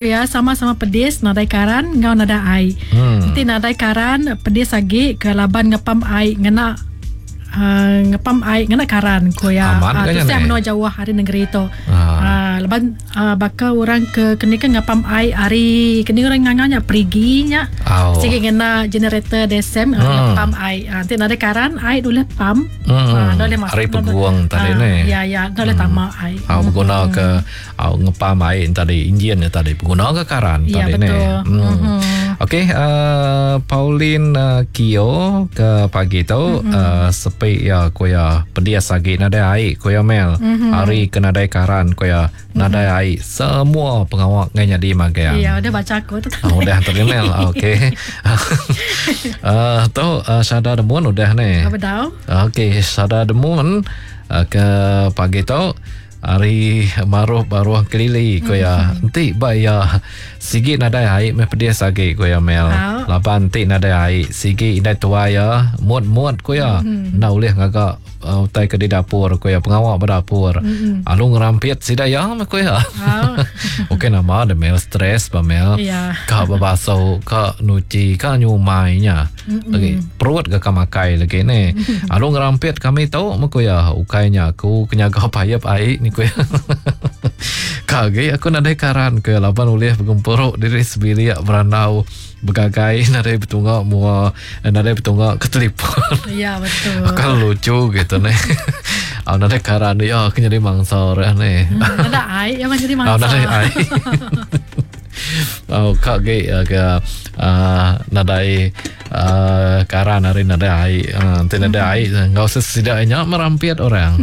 Iya sama-sama pedis nadai karan enggau nadai ai. Enti nadai karan pedis agi ke laban ngepam ai ngena uhh ngepam ai ngena karan ku iya. Amat ga nya Tusah neh. menua jauh ari nengeri tu. Haa. Laban uhh baka orang ke keni ke ngepam ai ari keni orang ngangau nya perigi nya Au. sigi ngena generator desem ngepam ai. Enti nadai karan ai ulih pam. Hmm. Enda ulih masuk Ari pegung tadi neh. Ya ya enda ulih tama ai. Au beguna ke Au ngepam ai tadi enjin nya tadi peguna ke karan ya, tadi betul. ne. Hmm. Mm-hmm. Okey uh, Pauline uh, Kio ke pagi tu mm-hmm. uh, sepi ya ku ya pedias agi nadai ai ku ya Mel. Mm-hmm. Hari ke nadai karan ku ya nadai mm-hmm. ai semua pengawa ngai nyadi magang. Ya udah baca aku tu. Oh, udah tadi Mel. Okey. uh, tu uh, Sada Demun udah ne. Apa tau? Okey, Sada Demun uh, ke pagi tu Ari maruh baruh kelili ku iya. Enti ba iya sigi nadai ai meh pedis agi ku iya Mel. Laban enti nadai ai sigi indai tuai iya mut-mut ku iya. Enda ulih ngaga utai ke di dapur ku iya pengawa ba dapur. Alu ngerampit sida iya meh ku iya. Ukai nama deh Mel stress ba Mel. Ka bebasu ka nuchi ka nyumai nya. Lagi perut ga ka makai lagi ne. Alu ngerampit kami tu meh ku iya. Ukai nya aku ke nyaga payep ai ni ku iya. Ka agi aku nadai karan ku iya laban ulih begempuru diri sebilik berandau begagai nadai betunga mua nadai betunga ke telefon. Ya betul. Akan lucu gitu ne. Au nadai karan iya ke nyadi mangsa orang ne. Nadai ai iya nyadi mangsa. Au nadai ai. Oh, ka ge uh, ke uh, nadai uh, karan hari nadai ai. Uh, enti nadai ai enggau sesida nya merampit orang.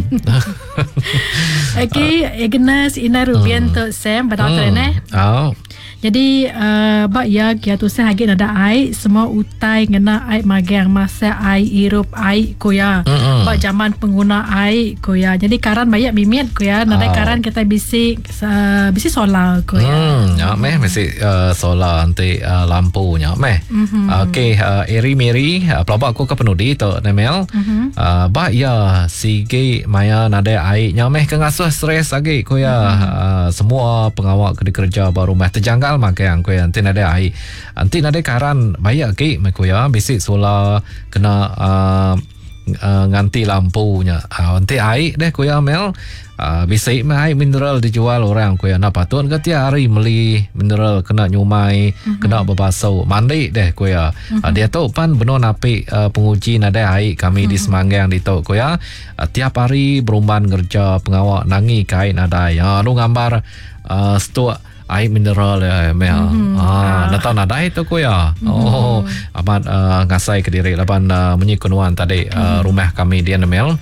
Okey, Agnes Ina Rubian tu Sam bedau tu neh. Oh. Jadi uh, ba iya kia tusah agi nadai ai, semua utai ngena ai magang masak ai, irup ai ku iya. Ba jaman pengguna ai ku iya. Jadi karan bayak mimit ku iya, nadai Oh. karan kitai bisi Uh, bisi solar ko ya. Hmm, nya meh bisi uh, solar enti uh, lampu nya meh. Mm-hmm. Okey, uh, Eri Mary, uh, pelaba aku ke penudi tu Nemel. Mm-hmm. Uh, ba ya sigi maya nadai ai nya meh ke ngasuh stres agi ko ya. Mm-hmm. Uh, semua pengawa ke dikereja ba rumah terjanggal magang ko ya enti nadai ai. Enti nadai karan bayak agi meh ko ya bisi solar kena uh, uh, nganti lampu nya. Uh, enti ai deh ku iya Mel, uh, bisi meh ai mineral dijual orang ku iya. Enda patut ke tiap hari meli mineral kena nyumai, mm-hmm. kena bebasu, mandi deh ku iya. Mm-hmm. Uh, diatu pan benung napi uh, penguji nadai ai kami di Mm-hmm. Semanggang ditu ku iya. Uh, tiap hari berumban ngereja pengawa nangi ke ai nadai. Uh, lalu ngambar uh, stok ai mineral ya Mel. Mm-hmm. Ah, enda tau nadai tu ku iya. Mm-hmm. Oh, amat uh, ngasai ke diri laban uh, munyi ku nuan tadi uh, Mm-hmm. rumah kami dia Mel.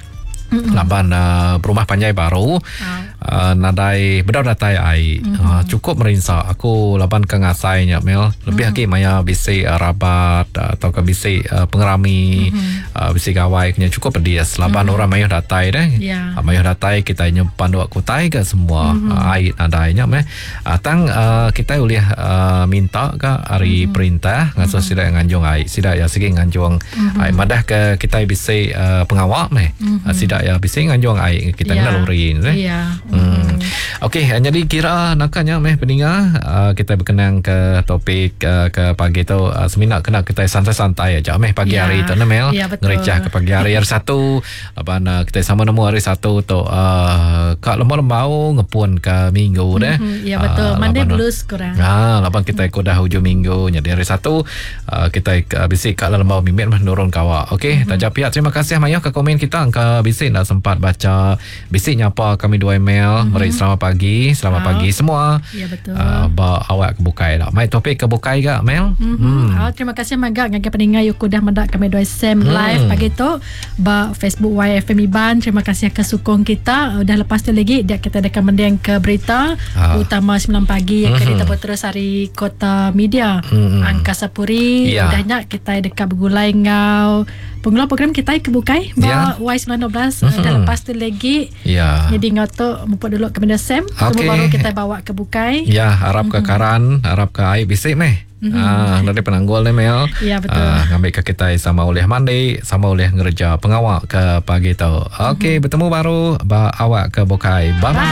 Laban uh, berumah panjai baru Ah. uh, nadai bedau datai ai. Mm-hmm. Uh, cukup merinsa aku laban ke ngasai nya Mel. Lebih agi maya bisi uh, rabat uh, atau ke bisi uh, pengerami uh, bisi gawai kena cukup pedis laban orang mayuh datai deh. Ya. Uh, mayuh datai kita nyempan dua kutai ke semua Mhm. mm-hmm. uh, ai nadai nya meh. Uh, tang uh, kita ulih uh, minta ke ari Mhm. perintah ngasuh Mm-hmm. sida nganjung ai. Sida ya sigi nganjung ai madah ke kita bisi uh, pengawa meh. Mhm. Uh, sida ya bisi nganjung ai kita Ya. ngena lori ne. Ya. Hmm. Okey, eh, jadi kira nakanya meh peninga uh, kita berkenang ke topik uh, ke pagi tu uh, semina kena kita santai-santai aja meh pagi Ya. hari tu ne Mel. Ya, betul. Ngericah ke pagi hari hari Satu laban uh, kita sama nemu hari Satu tu uh, ka lembau-lembau ngepun ke minggu deh. Mhm, Ya betul. Ah, Monday laban- blues kurang. Ah, laban kita ikut dah hujung minggu jadi hari Satu uh, kita uh, bisi kat lembau mimit meh nurun kawa. Okey, Mhm. mm-hmm. taja pihak terima kasih mayuh ke komen kita angka bisi nak sempat baca bisi nyapa kami dua email Mhm. meri selamat pagi, selamat Ah. pagi semua. Ya betul. Uh, ba awak ke bukai lah. Mai topik ke bukai ga Mel? Mm-hmm. Oh, terima kasih magak ngagai peninga yuku dah mendak kami dua Sam live pagi tu ba Facebook YFM Iban. Terima kasih ke sukong kita. Udah lepas tu lagi dia kita akan mendeng ke berita Ah. utama 9 pagi yang mm-hmm. kita terus hari Kota Media Mm-mm. Angkasa Puri. Ya. Udahnya kita dekat bergulai ngau pengelola program kita ke bukai Ya. ba Y912 mm-hmm. Dah lepas tu lagi Ya. Jadi ngau tu mumpuk dulu ke benda Sam. Okey. Semua baru kita bawa ke bukai. Ya, harap ke karan, harap ke air bisik meh. Ah, nanti penanggul ni Mel. Ya, betul. Ah, ngambil ke kita sama oleh mandi, sama oleh ngereja pengawak ke pagi tu. Okey, bertemu baru ba awak ke bukai. Bye bye.